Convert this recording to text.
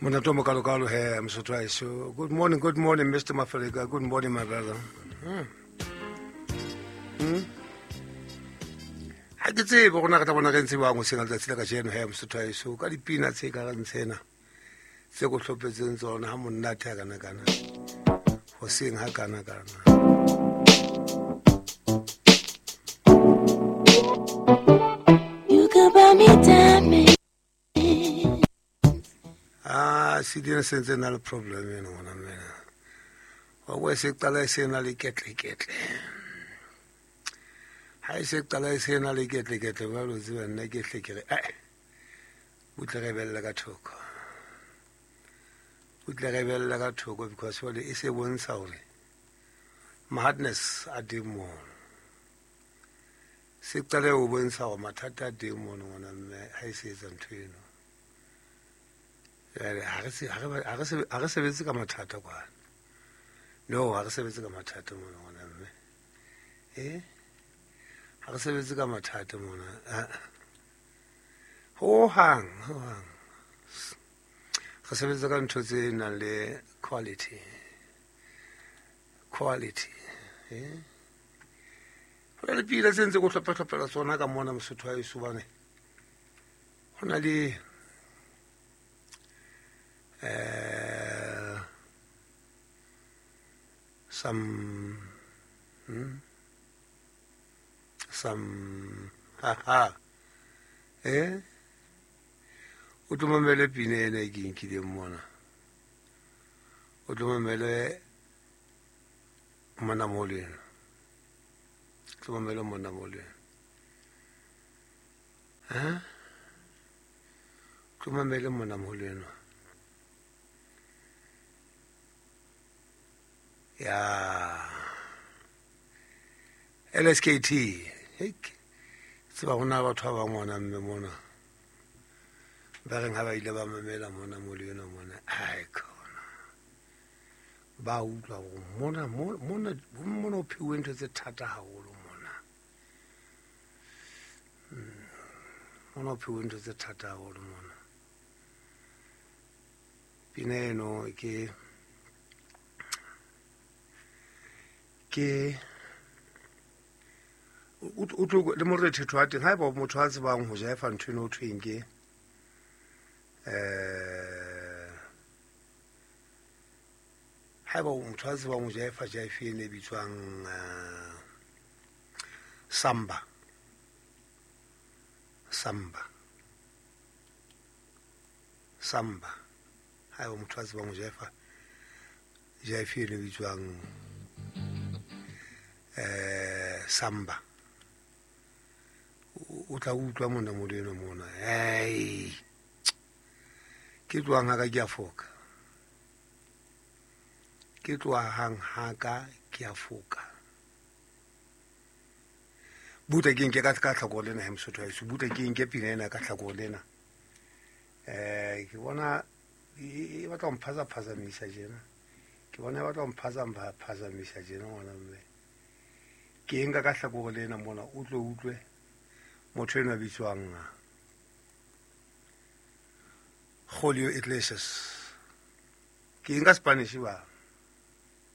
Monate o mokalokalo he Mosotho wa heso. Good morning, good morning, Mr. Mafaleka. Good morning, my brother. Ha ke tsebe gore na re tla bona re ntse bang hoseng ha letsatsi la kajeno he Mosotho wa heso ka dipina tse ka reng tsena tse ko hlopetseng tsona ha monate ha kana kana hoseng ha kana kana. You could buy me diamonds. Ah, se dina se ntse na le problem eno ngwana mmena. Wa bo se qala e se na le ketleketle. Ha e se qala e se na le ketleketle ba lo tseba nna ke hle ke re eh butle re bella ka thoko. Butle re bella ka thoko because jwale e se bontsha hore madness a teng mono. Se qale ho bontsha hore mathata a teng mono ngwana mme ha e se etsa ntho eno. Jwale ha re se ha re ha re se ha re sebetse ka mathata kwana. No, ha re sebetse ka mathata mona ngwana mme. Eh? Ha re sebetse ka mathata mona. Ah. Ho hang, ho hang. Re sebetsa ka ntho tse nang le quality. Quality. Eh? Ho na le pina tse ntse ko hlopha-hlophela tsona ka mona Mosotho wa heso bane. Ho na le some some ha ha eh o tlo mamele pina ena e ke nkileng mona, o tlo mamele mona mo lena, o tlo mamele mona mo lena, ha tlo mamele mona mo lena ya LSKT. Hek tseba hona batho ba bang ngwana mme mona ba reng ha ba ile ba mamela mona mo le yona mona, ai khona ba utlwa hore mona mona mona o phiwe ntho tse thata haholo mona. Mona o phiwe ntho tse thata haholo mona. Pina eno ke ke o tlo le morethetho wa teng haeba motho a tsebang ho jaefa ntho eno ho thweng ke haeba motho a tsebang ho jaefa jaefe ene e bitswang samba, samba, samba, haeba motho a tsebang ho jaefa jaefe ene e bitswang samba, o tla utlwa mona mo leno mona. Hey, ke tlohang ha ka ke a foka, ke tlohang ha ka ke a foka. Butle ke nke ka tlhako lena he Mosotho wa heso, butle ke nke pina ena ka tlhako lena. Ke bona e batla ho mphazaphazamise tjena, ke bona e batla ho mphazaphazamise tjena ngwana mme. Ke nka ka hlakore lena mona, o tlo utlwe motho enwa bitswang Julio Iglesias. Ke nka Spanish ba.